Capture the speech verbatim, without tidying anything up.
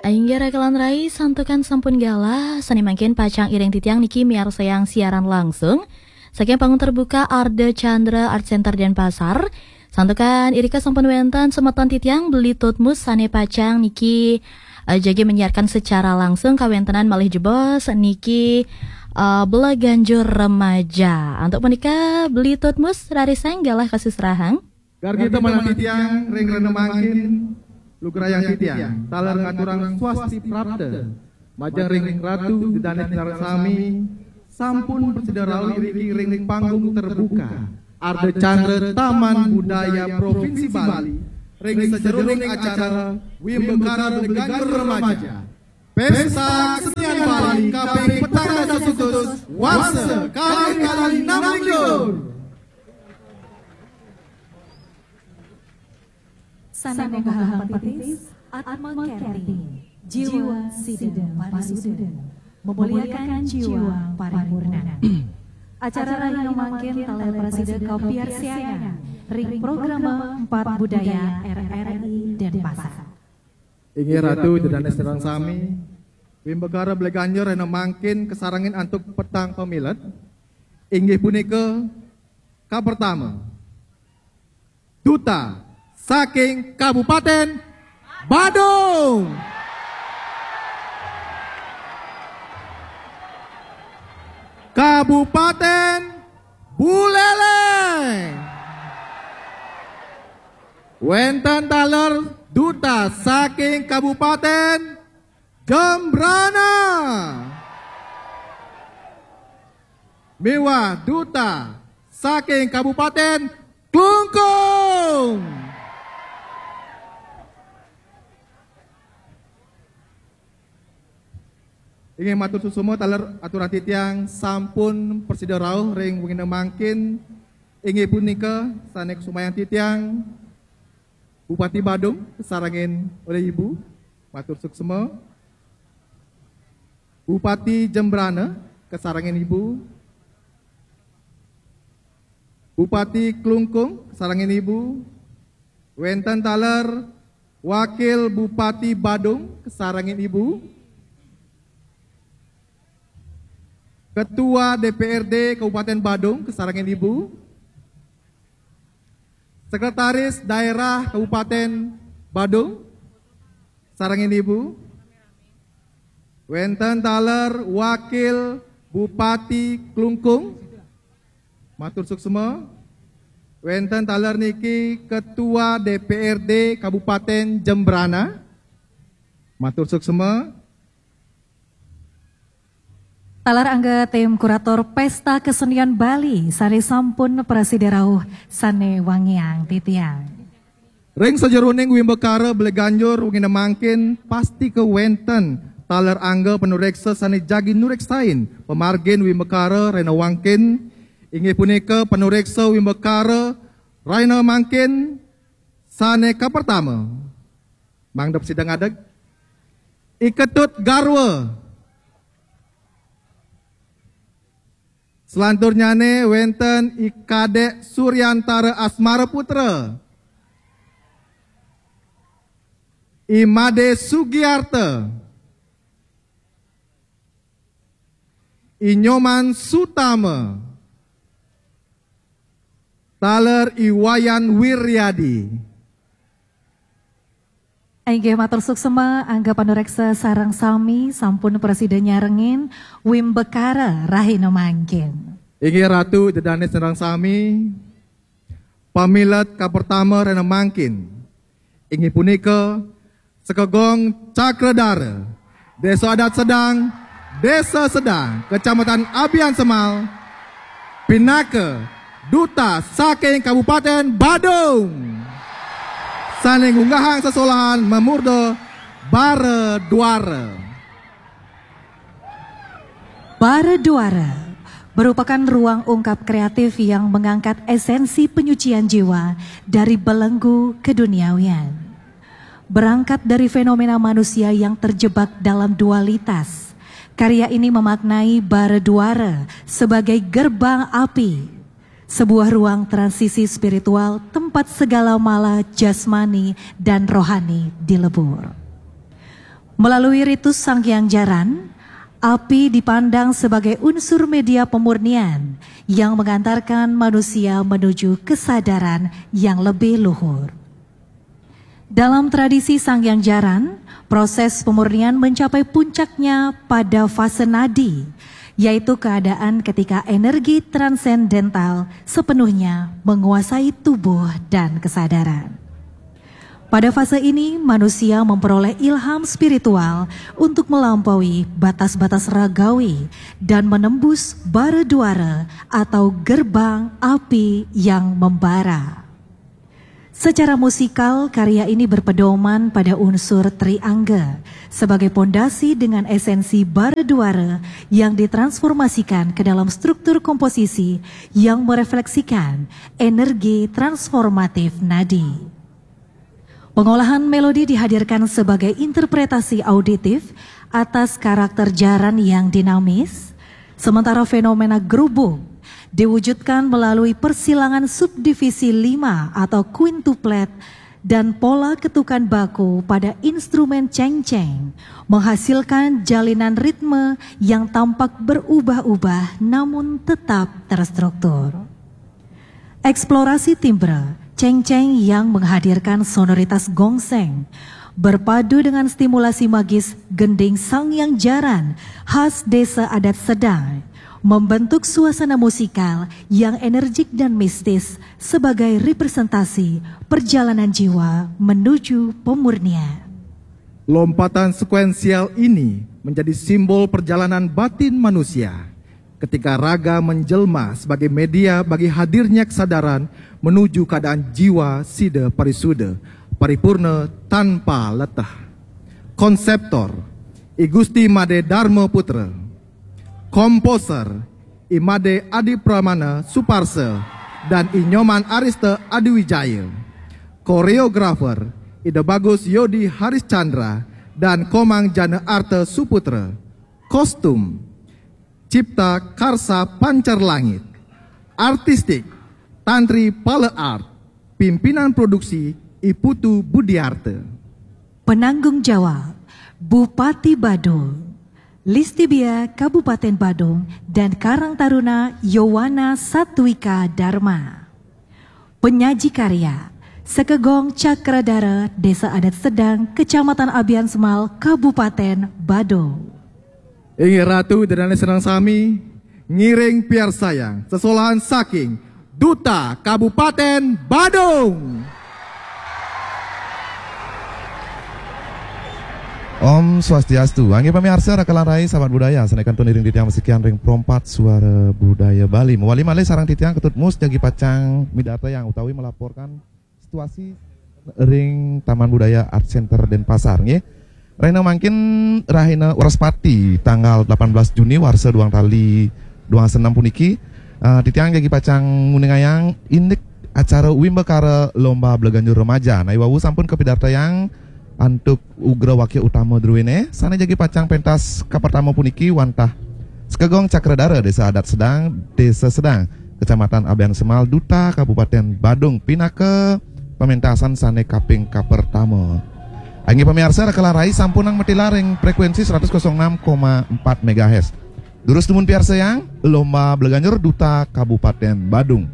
Inggih raka lan rai, santukan sampun galah, sane mangkin pacang iring titiang niki miarsayang siaran langsung saking panggung terbuka Arda Chandra Art Center Denpasar. Santukan irika sampun wenten semeton titiang Beli Tutmus sane pacang niki, eh, jagi menyiarkan secara langsung kawentenan malih jebos niki, eh, Beleganjur Remaja. Antuk punika Beli Tutmus rarisang galah kasusrahang. Gargi temenan titiang ring rena mangkin, lugrayang titiang taler ngaturang swasti prapta majeng ring Ratu Ida Dané sareng sami, sampun prasida rauh iriki ring panggung terbuka Arda Chandra Taman Budaya Provinsi Bali ring sajeroning acara Wimbakara Beleganjur Remaja Pesta Kesenian Bali kaping petang dasa seket warsa kalih kalih enam likur. Sane munggah patitis, Atma Kerti, jiwa sida parisuda, memuliakan jiwa paripurna. Acara rahina mangkin taler prasida kapiarsayang ring programa Empat Budaya R R I Denpasar. Inggih Ratu Ida Dané sareng sami, Wimbakara Beleganjur rahina mangkin kasarengin antuk petang pamilet. Inggih punika, kapertama, Duta saking Kabupaten Badung. Kabupaten Buleleng. Wenten taler Duta saking Kabupaten Jembrana. Miwah Duta saking Kabupaten Klungkung. Inggih matur suksma taler aturang titiang sampun prasida rauh ring wengine mangkin. Inggih punika sane kusumayang titiang Bupati Badung kasarengin olih Ibu, matur suksma. Bupati Jembrana kasarengin Ibu. Bupati Klungkung kasarengin Ibu. Wenten taler Wakil Bupati Badung kasarengin Ibu. Ketua D P R D Kabupaten Badung kasarengin Ibu. Sekretaris Daerah Kabupaten Badung, sarengin Ibu. Wenten taler Wakil Bupati Klungkung, matur suksma. Wenten taler niki Ketua D P R D Kabupaten Jembrana, matur suksma. Taler angga tim kurator Pesta Kesenian Bali sane sampun prasida rauh sane wangiang titiang. Ring sajeroning wimbakara beleganjur wengine mangkin pasti kewenten taler angga panureksa sane jagi nureksain pamargin wimbakara rena wangkin, inggih punika panureksa wimbakara rena mangkin sane kapertama. Mangda sida ngadeg. I Ketut Garwa. Selanturnyane wenten I Kadek Suryantara Asmara Putra. I Made Sugiarta. I Nyoman Sutama. Taler I Wayan Wiryadi. Inggih matur suksma, angga panureksa sareng sami sampun prasida nyarengin wimbakara rahina mangkin. Inggih Ratu Ida Dane sareng sami, pamilet kapertama rahina mangkin inggih punika Sekegong Cakradara, Desa Adat Sedang, Desa Sedang, Kecamatan Abian Semal, pinaka Duta saking Kabupaten Badung. Sane ngunggahang sesolahan mamurda Bara Duara. Bara Duara merupakan ruang ungkap kreatif yang mengangkat esensi penyucian jiwa dari belenggu keduniawian. Berangkat dari fenomena manusia yang terjebak dalam dualitas, karya ini memaknai Bara Duara sebagai gerbang api, sebuah ruang transisi spiritual tempat segala mala jasmani dan rohani dilebur. Melalui ritus Sanghyang Jaran, api dipandang sebagai unsur media pemurnian yang mengantarkan manusia menuju kesadaran yang lebih luhur. Dalam tradisi Sanghyang Jaran, proses pemurnian mencapai puncaknya pada fase nadi, yaitu keadaan ketika energi transendental sepenuhnya menguasai tubuh dan kesadaran. Pada fase ini, manusia memperoleh ilham spiritual untuk melampaui batas-batas ragawi dan menembus bara duara atau gerbang api yang membara. Secara musikal, karya ini berpedoman pada unsur triangga sebagai pondasi dengan esensi bara duara yang ditransformasikan ke dalam struktur komposisi yang merefleksikan energi transformatif nadi. Pengolahan melodi dihadirkan sebagai interpretasi auditif atas karakter jaran yang dinamis, sementara fenomena gerubung diwujudkan melalui persilangan subdivisi lima atau quintuplet dan pola ketukan baku pada instrumen cengceng menghasilkan jalinan ritme yang tampak berubah-ubah namun tetap terstruktur. Eksplorasi timbre cengceng yang menghadirkan sonoritas gongseng berpadu dengan stimulasi magis gending Sanghyang Jaran khas Desa Adat Sedang membentuk suasana musikal yang energik dan mistis sebagai representasi perjalanan jiwa menuju pemurnian. Lompatan sekuensial ini menjadi simbol perjalanan batin manusia ketika raga menjelma sebagai media bagi hadirnya kesadaran menuju keadaan jiwa sida parisuda, paripurna, tanpa letah. Konseptor, I Gusti Made Dharma Putra. Komposer, I Made Adi Pramana Suparsa dan I Nyoman Arista Adiwijaya. Koreografer, Ida Bagus Yodi Haris Chandra dan Komang Jana Arta Suputra. Kostum, Cipta Karsa Pancar Langit. Artistik, Tantri Pale Art. Pimpinan produksi, I Putu Budiarta. Penanggung jawab, Bupati Badung, Listibia Kabupaten Badung, dan Karang Taruna Yowana Satwika Dharma. Penyaji karya, Sekegong Cakradara, Desa Adat Sedang, Kecamatan Abian Semal, Kabupaten Badung. Inggih Ratu dan Dané sareng sami, ngiring piarsayang sesolahan saking Duta Kabupaten Badung. Om Swastiastu. Anggih pamiarsa raka lan rai sahabat budaya, sané kantun iring titiang masikian ring Pro empat Suara Budaya Bali. Mawali malih sareng titiang Ketut Mus jagi pacang midartayang utawi melaporkan situasi ring Taman Budaya Art Center Denpasar nggih. Rahina mangkin rahina Wrespati tanggal delapan belas Juni warsa duang tali duang senam puniki, eh, titiang jagi pacang nguningayang indik acara Wimbakara Lomba Bleganjur Remaja. Nah, iwau sampun kapidartayang antuk ugra wakil utama druéné, sané jagi pacang pentas kapertama puniki wantah Sekegong Cakradara Desa Adat Sedang, Desa Sedang, Kecamatan Abian Semal, Duta Kabupaten Badung, pinaka pamentasan sané kaping kapertama. Anggih pamiarsa, raka lan rai sampunang matilar ring frekuensi seratus kosong enam koma empat megahertz. Durus dumun piarsayang, Lomba Bleganjur Duta Kabupaten Badung.